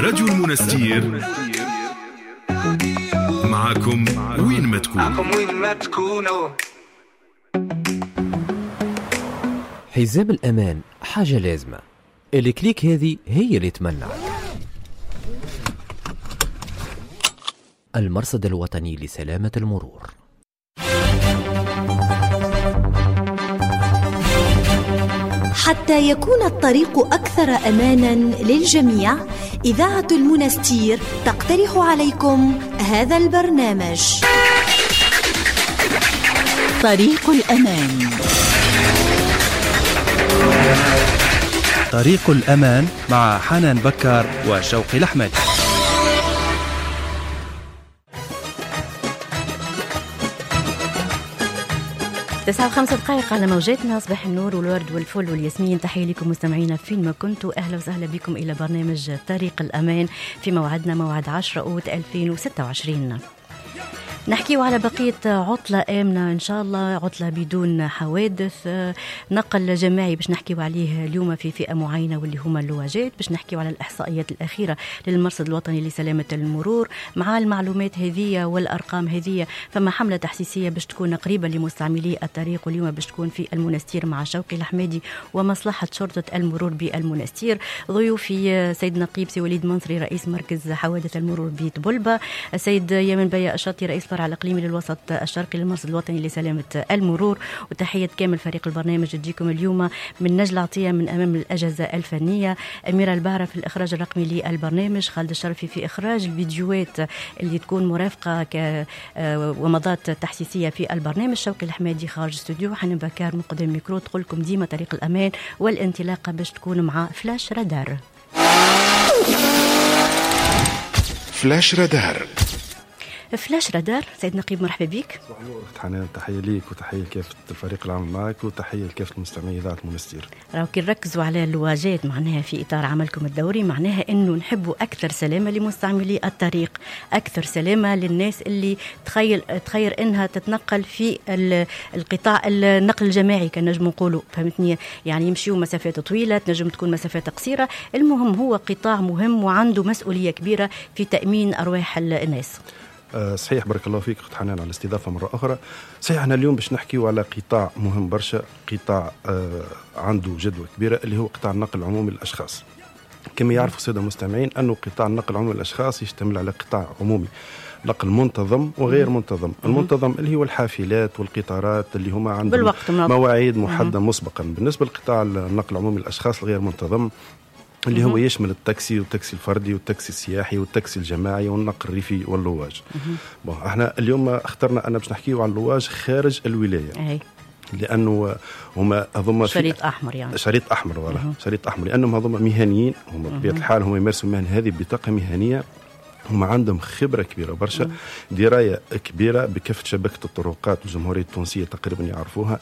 راديو المنستير معكم وين ما تكون. معكم وين ما تكونوا. حزام الأمان حاجة لازمة، ال clic هذه هي اللي تمنعك. المرصد الوطني لسلامة المرور. حتى يكون الطريق أكثر أماناً للجميع، إذاعة المنستير تقترح عليكم هذا البرنامج. طريق الأمان. طريق الأمان مع حنان بكار وشوقي الأحمد. 9:05 على موجاتنا. صباح النور والورد والفل والياسمين. تحية لكم مستمعينا فين ما كنتوا، أهلا وسهلا بكم إلى برنامج طريق الأمان في موعدنا موعد 10 أوت 2026. نحكيو على بقية عطلة آمنة إن شاء الله، عطلة بدون حوادث، نقل جماعي باش نحكيو عليه اليوم في فئة معينة واللي هما اللواجات، باش نحكيو على الإحصائيات الأخيرة للمرصد الوطني لسلامة المرور. مع المعلومات هذه والأرقام هذه فما حملة تحسيسية باش تكون قريبة لمستعملي الطريق، واليوم باش تكون في المنستير مع شوقي الحمادي ومصلحة شرطة المرور بالمنستير. ضيوفي سيد نقيب سي وليد منصري رئيس مركز حوادث المرور بطبلبة، السيد يمن بيا الشاطي رئيس الفرع الإقليمي للوسط الشرقي للمرصد الوطني لسلامة المرور، وتحية كامل فريق البرنامج تجيكم اليوم من نجل عطية من أمام الأجهزة الفنية، أميرة البعرة في الإخراج الرقمي للبرنامج، خالد الشرفي في إخراج الفيديوهات اللي تكون مرافقة ومضات تحسيسية في البرنامج، شوقي الحمادي خارج استوديو، حنان بكار من قدام الميكرو. تقول لكم ديما طريق الأمان والانطلاقة باش تكون مع flash radar. flash radar. flash radar. سيد نقيب مرحبا بك. صباح النور اخت حنان، تحية ليك وتحية لكافة الفريق العام معك وتحية لكافة المستمعين اذاعة المنستير. راهو كي نركزوا على اللواجات معناها في اطار عملكم الدوري، معناها انه نحبوا اكثر سلامه لمستعملي الطريق، اكثر سلامه للناس اللي تخير انها تتنقل في القطاع النقل الجماعي كان نجم نقولوا، فهمتني؟ يعني يمشيوا مسافات طويلة، تنجم تكون مسافات قصيرة، المهم هو قطاع مهم وعنده مسؤولية كبيرة في تامين ارواح الناس. صحيح، بارك الله فيك اخت حنان على الاستضافة مرة اخرى. صحيح احنا اليوم باش نحكيو على قطاع مهم برشا، قطاع عنده جدوى كبيرة اللي هو قطاع النقل العمومي للاشخاص. كما يعرفوا السادة المستمعين انه قطاع النقل العمومي للاشخاص يشتمل على قطاع عمومي نقل منتظم وغير منتظم. المنتظم اللي هو الحافلات والقطارات اللي هما عندهم مواعيد محددة مسبقا. بالنسبة لقطاع النقل العمومي للاشخاص الغير منتظم اللي هو يشمل التاكسي والتاكسي الفردي والتاكسي السياحي والتاكسي الجماعي والنقل الريفي واللواج. bon احنا اليوم اخترنا انا باش نحكيو على اللواج خارج الولاية. لانه هما هذوما شريط احمر، يعني شريط احمر voilà شريط احمر، لانهم هذوما مهنيين، هما بطبيعة الحال هما يمارسوا المهنة هذه بطاقة مهنية، هما عندهم خبرة كبيرة برشا، دراية كبيرة بكافة شبكة الطرقات والجمهورية التونسية تقريبا يعرفوها.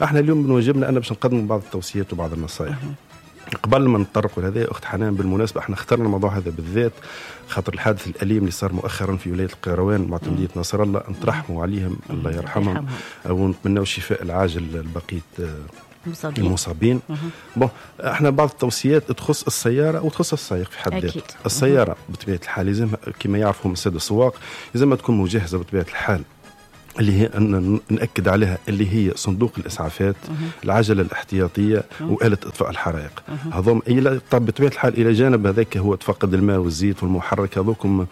احنا اليوم من واجبنا أن باش نقدم بعض التوصيات وبعض النصائح. قبل ما نتطرقوا لهذا اخت حنان، بالمناسبة احنا اخترنا الموضوع هذا بالذات خاطر الحادث الاليم اللي صار مؤخرا في ولاية القيروان معتمديه نصر الله، نترحموا عليهم الله يرحمهم ونتمنوا الشفاء العاجل لبقية المصابين. bon احنا بعض التوصيات تخص السيارة وتخص السائق في حد ذاته. السيارة بطبيعة الحال لازم كما يعرفهم السادة السواق لازم تكون مجهزة بطبيعة الحال، اللي هي نأكد عليها اللي هي صندوق الإسعافات، العجلة الاحتياطية، وآلة إطفاء الحرائق. هذوم بطبيعة الحال إلى جانب هذاك هو تفقد الماء والزيت والمحرك، هذوكم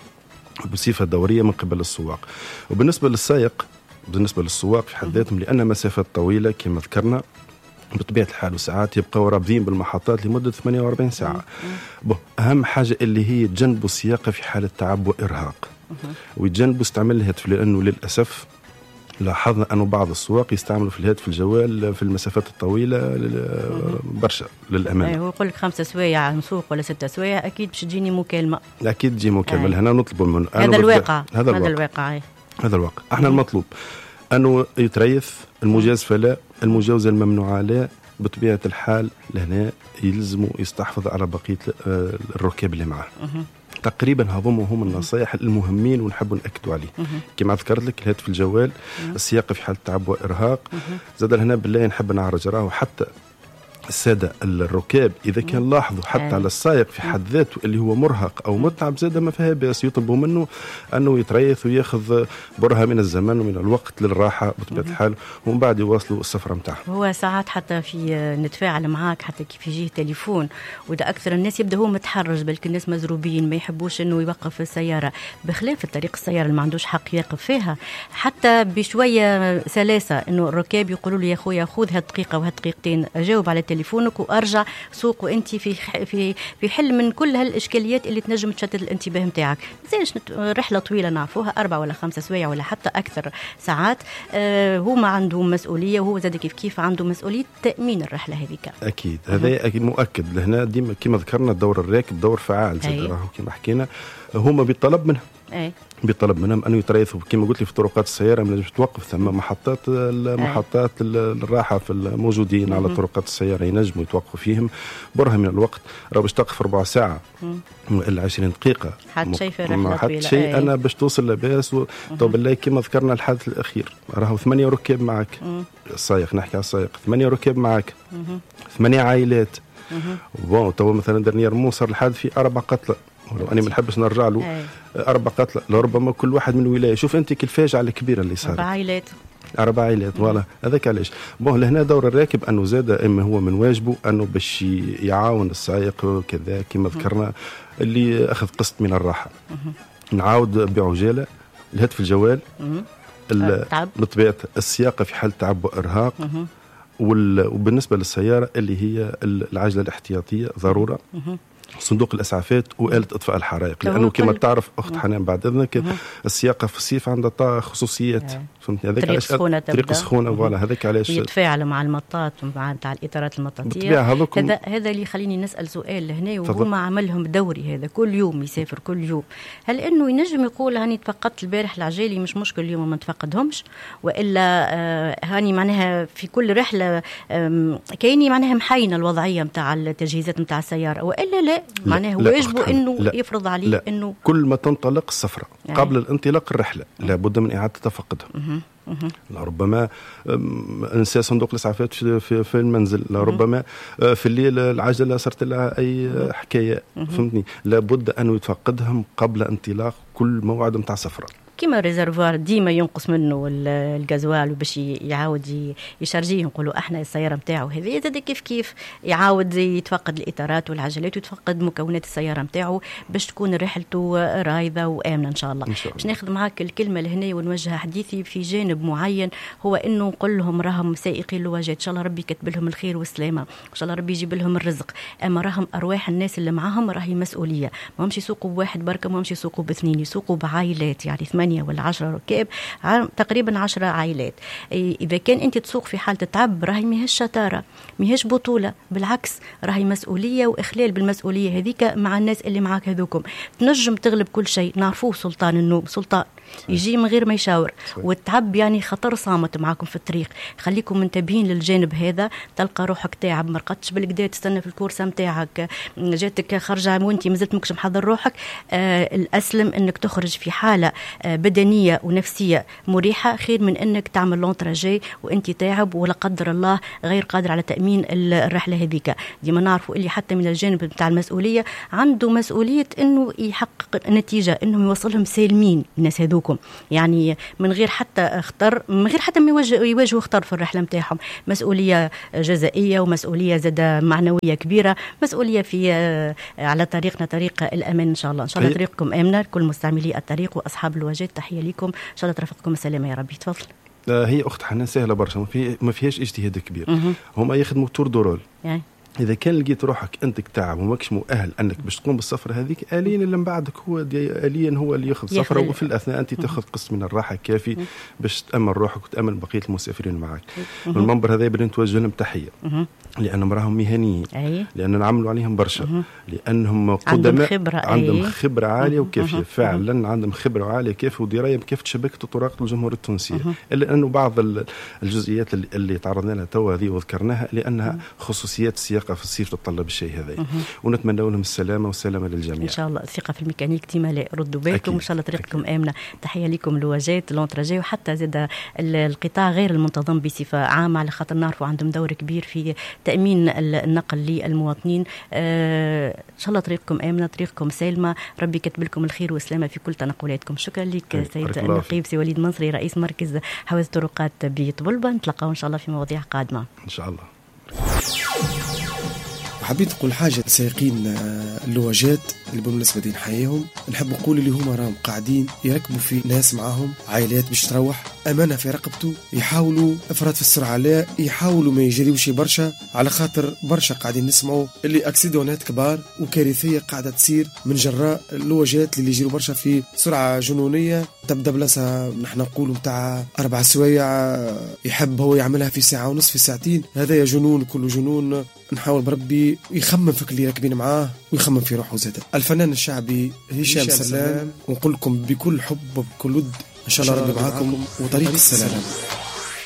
بصفة دورية من قبل السواق. وبالنسبة للسائق، بالنسبة للسواق في حد ذاتهم، لأن مسافات طويلة كما ذكرنا بطبيعة الحال وساعات يبقوا رابطين بالمحطات لمدة 48 ساعة. أهم حاجة اللي هي تجنبوا السياقة في حالة تعب وإرهاق، ويتجنبوا استعمال الهاتف، لأنه للأسف لاحظنا أنه بعض السواق يستعملوا في الهاتف الجوال في المسافات الطويلة برشا للأمانة. هو يقول لك 5 سوايع نسوق ولا 6 سوايع أكيد باش تجيني مكالمة. أكيد تجي مكالمة. هنا نطلب من هذا الواقع. هذا الواقع. هذا الواقع. احنا المطلوب أنه يتريث، المجازفة لا، المجاوزة الممنوعة لا، بطبيعة الحال لهنا يلزموا يستحفظ على بقية الركاب اللي معه. تقريبا هذوما هم النصائح المهمين ونحب نأكدوا عليه. كما ذكرت لك الهاتف الجوال، السياقة في حالة تعب وإرهاق. زاد هنا بالله نحب نعرج راهو حتى السادة الركاب اذا كان لاحظوا حتى على السائق في حد ذاته اللي هو مرهق او متعب زاد ما فيها باس، يطلبوا منه انه يتريث وياخذ برهة من الزمن ومن الوقت للراحة بطبيعة الحال، ومن بعد يواصلوا السفرة نتاعهم. هو ساعات حتى في نتفاعل معاك حتى كيف يجيه تليفون، وده اكثر الناس يبدا هو متحرج، بلك الناس مزروبين ما يحبوش انه يوقف السيارة، بخلاف الطريق السيارة اللي ما عندوش حق يقف فيها، حتى بشوية سلاسة انه الركاب يقولوا لي يا خويا خذ هالدقيقه وهالدقيقتين، جاوب على تليفونك وارجع سوق وانت في في في حل من كل هالاشكاليات اللي تنجم تشتت الانتباه نتاعك. مازالش رحله طويلة نعرفوها 4 ولا 5 سوايع ولا حتى اكثر ساعات، هما عندهم مسؤولية وهو زاد كيف كيف عنده مسؤولية تامين الرحلة هذيك. اكيد هذا اكيد مؤكد. لهنا ديما كما ذكرنا دور الراكب دور فعال زاد، راهو كما حكينا هما بالطلب منهم بيطلب منهم انه يتريثوا كما قلت لي في طرقات السيارة، ما لازمش توقف، ثم محطات الراحة في الموجودين على طرقات السيارة ينجموا يتوقفوا فيهم برهة من الوقت. راه باش تقف ربع ساعة والا 20 دقيقة حتى شيء في رحله طويلة، حتى شيء انا باش توصل لاباس. تو بالله كما ذكرنا الحادث الاخير راهو 8 ركاب معك، السائق نحكي على السائق، 8 ركاب معك، 8 عائلات. bon تو مثلا dernièrement صار الحادث في 4 قتلى، ولو أنا ما نحبش نرجع له، 4 قتلى لربما كل واحد من ولاية. شوف أنت الفاجعة الكبيرة اللي صارت، 4 عائلات voilà. هذاك علاش bon لهنا دور الراكب أنه زاد إما هو من واجبه أنه باش يعاون السائق كذا كما ذكرنا اللي أخذ قسط من الراحة. نعاود بعجالة الهاتف الجوال، بطبيعة السياقة في حال تعب وإرهاق، وبالنسبة للسيارة اللي هي العجلة الاحتياطية ضرورة، صندوق الاسعافات وآلة اطفاء الحرائق، لانه كما تعرف اخت حنان بعد اذنك السياقه في الصيف عندها خصوصيات، فهمتني؟ هذاك علاش طريق سخونة voilà، هذاك علاش يتفاعل مع المطاط مع تاع الاطارات المطاطيه. هذا اللي يخليني نسال سؤال لهنا، وهما عملهم دوري هذا كل يوم يسافر كل يوم، هل انه ينجم يقول هاني تفقدت البارح العجالي مش مشكل اليوم ما نتفقدهمش، والا هاني معناها في كل رحله كايني معناها محينه الوضعية نتاع التجهيزات نتاع السيارة، والا لا معناه واجبه انه يفرض عليه انه كل ما تنطلق السفرة قبل الانطلاق الرحلة لابد من اعاده تفقدها. لربما انسى صندوق الاسعافات في المنزل، لربما في الليل العجلة صارت لها اي حكاية، فهمتني؟ لابد انه يتفقدهم قبل انطلاق كل موعد نتاع سفره. كيما réservoir ديما ينقص منه الغازوال باش يعاود يشارجيه، نقولوا احنا السيارة نتاعو هذه زاد كيف كيف يعاود يتفقد الاطارات والعجلات ويتفقد مكونات السيارة نتاعو باش تكون رحلته رايضه وامنه ان شاء الله. باش ناخذ معاك الكلمة لهنا ونوجه حديثي في جانب معين، هو انه نقول لهم راهم سائقي اللواجات ان شاء الله ربي كتب لهم الخير والسلامة، ان شاء الله ربي يجيب لهم الرزق، اما راهم ارواح الناس اللي معاهم راهي مسؤولية، ما همش يسوقوا بواحد بركة، ما همش يسوقوا باثنين، يسوقوا بعائلات، يعني 8 ولا 10 ركاب، تقريبا 10 عائلات. إذا كان أنت تسوق في حالة تعب راهي ماهيش شطارة، ماهيش بطولة، بالعكس راهي مسؤولية وإخلال بالمسؤولية هذيك مع الناس اللي معاك هذوكم. تنجم تغلب كل شيء، نعرفوه سلطان النوم سلطان يجي من غير ما يشاور، والتعب يعني خطر صامت معاكم في الطريق. خليكم منتبهين للجانب هذا، تلقى روحك تعب ما رقدتش بالكدا، تستنى في الكورسه نتاعك جاتك خرجه وانت مازلت ماكش محضر روحك. الاسلم انك تخرج في حاله بدنية ونفسية مريحه خير من انك تعمل long trajet وانت تعب ولا قدر الله غير قادر على تامين الرحلة هذيك. ديما نعرفوا اللي حتى من الجانب نتاع المسؤولية عنده مسؤولية انه يحقق نتيجة، انه يوصلهم سالمين الناس هذوكم، يعني من غير حتى خطر، من غير حتى ما يواجهوا خطر في الرحلة نتاعهم. مسؤولية جزائيه ومسؤولية زاده معنوية كبيرة، مسؤولية في على طريقنا طريق الامان ان شاء الله. ان شاء الله طريقكم امنه كل مستعملي الطريق واصحاب الواجهات، تحية لكم، ان شاء الله ترافقكم السلامة يا ربي. تفضل. هي اخت حنان سهلة برشا، ما فيهاش اجتهاد كبير. هما يخدموا tour de rôle. يعني اذا كان لقيت روحك انت تعب وماكش مؤهل انك باش تقوم بالسفر هذيك، اليا اللي من بعدك هو اليا هو اللي ياخذ سفره، وفي الاثناء انت تاخذ قسط من الراحة كافي باش تامن روحك وتامن بقية المسافرين معك. من المنبر هذا بدنا نتوجه لهم تحية، لانهم راهم مهنيين، لان نعملوا عليهم برشا، لانهم قدماء، عندهم خبره عالية وكافيه فعلا، عندهم خبره عالية كافيه ودراية بكافة شبكة الطرق الجمهورية التونسية. الا انه بعض الجزئيات اللي تعرضنا لها توا هذه وذكرناها لانها خصوصيات السياقه السواقة في الصيف تتطلب الشيء هذا. ونتمنى لهم السلامة والسلامة للجميع ان شاء الله. الثقة في الميكانيك ديما لا، ردوا بالكم، ان شاء الله طريقكم امنه. تحية لكم لواجات l'entrajet وحتى زاد القطاع غير المنتظم بصفة عامة، على خاطر نعرفوا عندهم دور كبير في تامين النقل للمواطنين. ان شاء الله طريقكم امنه، طريقكم سالمه، ربي كتب لكم الخير والسلامة في كل تنقلاتكم. شكرا لك سيد النقيب سي وليد منصري رئيس مركز حوادث الطرقات بطبلبه. نتلقاو ان شاء الله في مواضيع قادمة ان شاء الله. حبيت نقول حاجة سائقين اللواجات اللي بالمناسبة دي نحييهم، نحب نقول اللي هما راهم قاعدين يركبوا في ناس معاهم عائلات باش تروح امانه في رقبته، يحاولوا افراط في السرعة لا، يحاولوا ما يجريوش برشا، على خاطر برشا قاعدين نسمعوا اللي accident ات كبار وكارثيه قاعدة تصير من جراء اللواجات اللي يجروا برشا في سرعة جنونيه. تبدا بلاصة نحن نقولوا نتاع 4 سوايع يحب هو يعملها في ساعة ونص في ساعتين، هذا يا جنون كله جنون. نحاول بربي يخمم في اللي راكبين معاه ويخمم في روحه زاد. الفنان الشعبي هشام سلام، ونقول لكم بكل حب وبكل ود ان شاء الله ربي معاكم وطريق السلام.